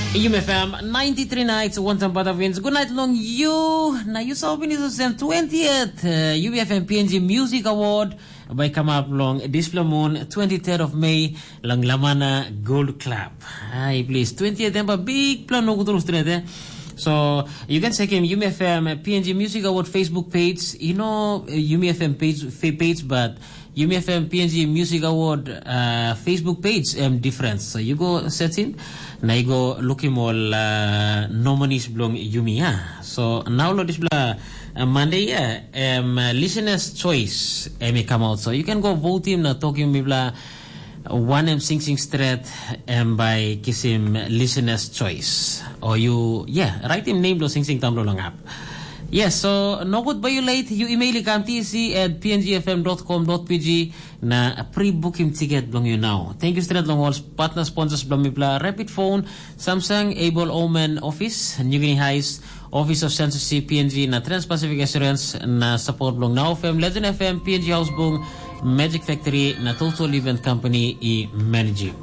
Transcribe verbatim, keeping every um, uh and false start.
Yumi F M ninety-three nights, one time bada wins. Good night long you. Na you saw finish sen twentieth uh, U B F M P N G Music Award by come up long this blue moon, twenty-third of May, long Lamana Gold Club. Hi, please. Twentieth tempa big plan no kutur straight eh. So you can check him U B F M P N G Music Award Facebook page. You know uh, U B F M page, fa- page, but Yumi F M P N G Music Award uh, Facebook page em different. So you go search in, na you go look him all uh, nominees belong Yumi ya. So now lo this bla uh, Monday ya, em uh, listeners choice em e come out. So you can go vote him na talk him bla one em sing sing straight em by kisim listeners choice. Or you yeah, write him name lo sing sing tam lo lang up. Yes, so no good by you late. You email ikam T C at P N G F M dot com dot P G na pre-book him ticket belong you now. Thank you straight long all partner sponsors belong mipla Rapid Phone, Samsung, Able Omen Office, New Guinea Highs, Office of Censorship P N G na Trans-Pacific Assurance na support belong Now F M, Legend F M, P N G House Bung, Magic Factory na Total Event Company i managing.